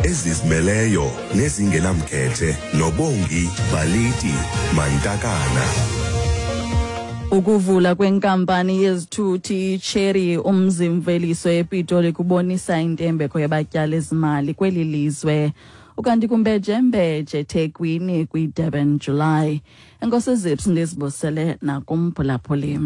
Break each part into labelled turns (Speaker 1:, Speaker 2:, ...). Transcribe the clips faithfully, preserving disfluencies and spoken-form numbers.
Speaker 1: Ezizimeleyo nezingenamkhethe noBongi Baliti Mantakana.
Speaker 2: Ukuvula kwenkampani yezithuthi iChery umzimveliso ePitoli kubonisa intembeko yabatyali zimali kweli lizwe. Ukanti kumbejembeje eThekwini kwiDurban July. Enkosi Zips, ndizibusele nakumphulaphuli.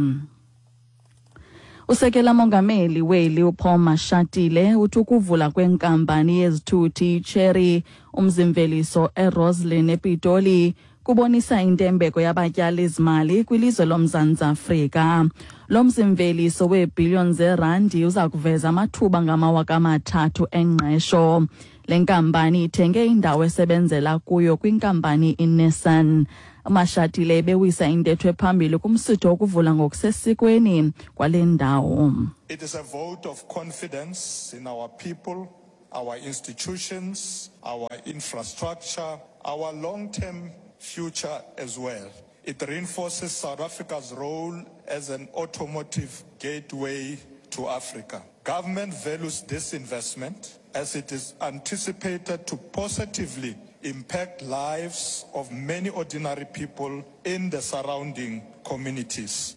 Speaker 2: Usekela mongameli weli uPaul Mashatile uthi ukuvula kwenkampani yezithuthi iChery umzimveliso eRoslyn ePitoli kubonisa intembeko yabatyali zimali kwilizwe loMzantsi Afrika. Lo mzimveliso weebhiliyoni zerandi uza kuveza amathuba ngamawaka amathathu engqesho. Le nkampani ithenge indawo esebenzela kuyo kwinkampani iNissan. Mashatile ebewisa intetho ephambili kumsitho wokuvula ngokusesikweni kwale ndawo.
Speaker 3: It is a vote of confidence in our people, our institutions, our infrastructure, our long-term future as well. It reinforces South Africa's role as an automotive gateway to Africa. Government values this investment as it is anticipated to positively impact lives of many ordinary people in the surrounding communities.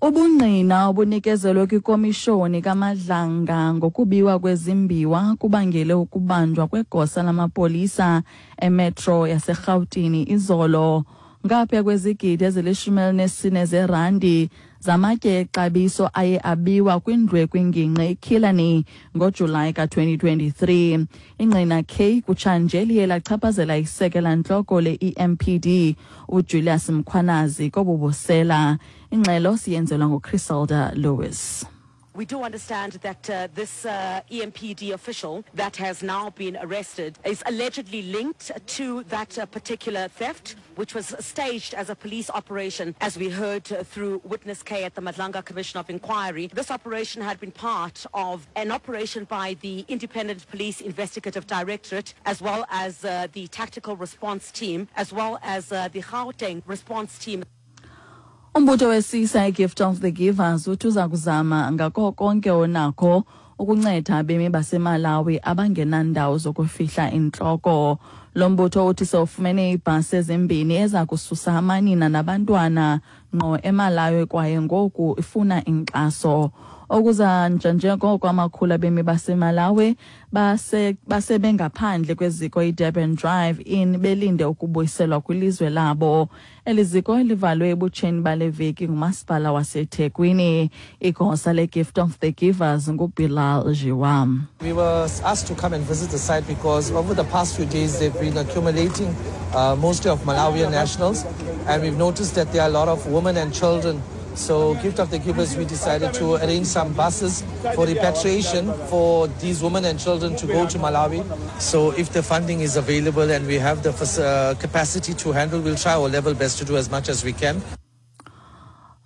Speaker 2: Ubungqina obunikezelwe kwikomishoni kaMadlanga ngokubiwa kwezimbiwa kubangele ukubanjwa kwegosa lamapolisa emetro yaseRhawutini izolo. Ngaphaya kwezigidi ezilishumi elinesine zerandi zamatye exabiso aye abiwa kwindlu kwingingqi iKillarney ngoJulayi ka-twenty twenty-three. Ingqina K kutshanje liye lachaphazela isekela ntloko le-E M P D uJulius Mkhwanazi kobubusela. Ingxelo siyenzelwa nguChriselda Lewis.
Speaker 4: We do understand that, uh, this, uh, E M P D official that has now been arrested is allegedly linked to that, uh, particular theft, which was staged as a police operation, as we heard, uh, through Witness K at the Madlanga Commission of Inquiry. This operation had been part of an operation by the Independent Police Investigative Directorate, as well as, uh, the Tactical Response Team, as well as, uh, the Gauteng Response Team.
Speaker 2: Umbutho wesisa iGift of the Givers uthi uza kuzama ngako konke onakho ukunceda abemi baseMalawi abangenandawo zokufihla intloko. Lo mbutho uthi sewufumene iibhasi ezimbini eza kususa amanina nabantwana ngqo eMalawi kwaye ngoku ifuna inkxaso. Okuza njengoko amakhulu abemi baseMalawi base, basebengaphandle kweziko iDurban Drive Inn belinde ukubuyiselwa kwilizwe labo. Eli ziko livalwe ebutsheni bale veki ngumasipala waseThekwini. Igosa leGift of the Givers nguBilal Jiwam.
Speaker 5: We were asked to come and visit the site because over the past few days they've been accumulating, uh, mostly of Malawian nationals, and we've noticed that there are a lot of women and children. So Gift of the Givers, we decided to arrange some buses for repatriation for these women and children to go to Malawi. So if the funding is available and we have the uh, capacity to handle, we'll try our level best to do as much as we can.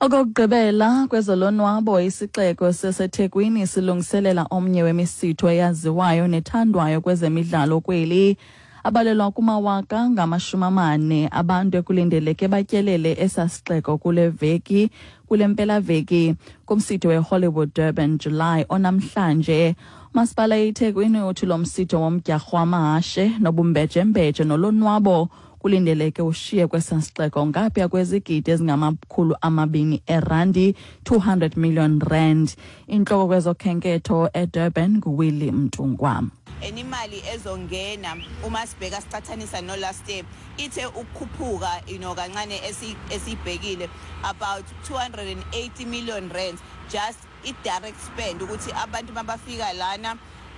Speaker 2: Okokugqibela kwezolonwabo, isixeko saseThekwini silungiselela omnye wemisitho eyaziwayo nethandwayo kwezemidlalo kweli. Abalelwa kumawaka ngamashumi amane abantu ekulindeleke batyelele esa sixeko kule veki, kule mpelaveki kumsitho weHollywood Durban July onamhlanje. Umasipala iThekwini uthi lo msitho womdyarho wamahashe nobumbejembeje nolonwabo kulindeleke ushiye kwesa sixeko ngaphaya kwezigidi ezingamakhulu amabini erandi, two hundred million rand. Intloko kwezokhenketho eDurban nguWillie Mtungwa.
Speaker 6: Enimali ezongena uma sibheka sicathanisa no last year ithe ukukhuphuka you know kancane esibhekile about two hundred and eighty million rand just i direct spend ukuthi abantu mabafika lana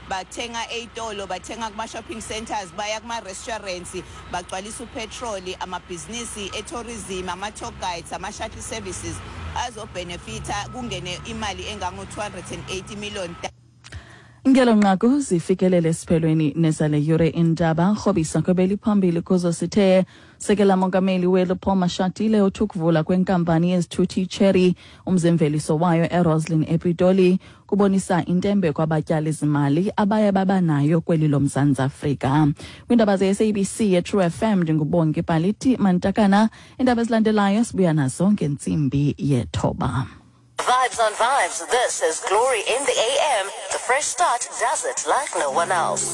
Speaker 6: bathenga eyitolo, bathenga kuma shopping centers, baya kuma restaurants, bagcwalisa upetrol, amabhizinisi etourism, ama tour guides, ama shuttle services azobenefita kungene imali engango two hundred and eighty million.
Speaker 2: Ngelo nqaku zifikelele esiphelweni nezale yure indaba. Rhobisa kwebeli phambili kuzo sithe sekela mongameli weli Paul Mashatile uthi ukuvula kwenkampani yezithuthi Chery umzimveliso wayo eRoslyn ePitoli kubonisa intembeko abatyali zimali abaye babanayo kweli loMzantsi Afrika. Kwiindaba ze-S A B C ye-True F M ndinguBongi Paliti Mantakana. Iindaba ezilandelayo sibuya nazo ngentsimbi yethoba.
Speaker 7: Vibes on vibes. This is Glory in the A M. The fresh start does it like no one else.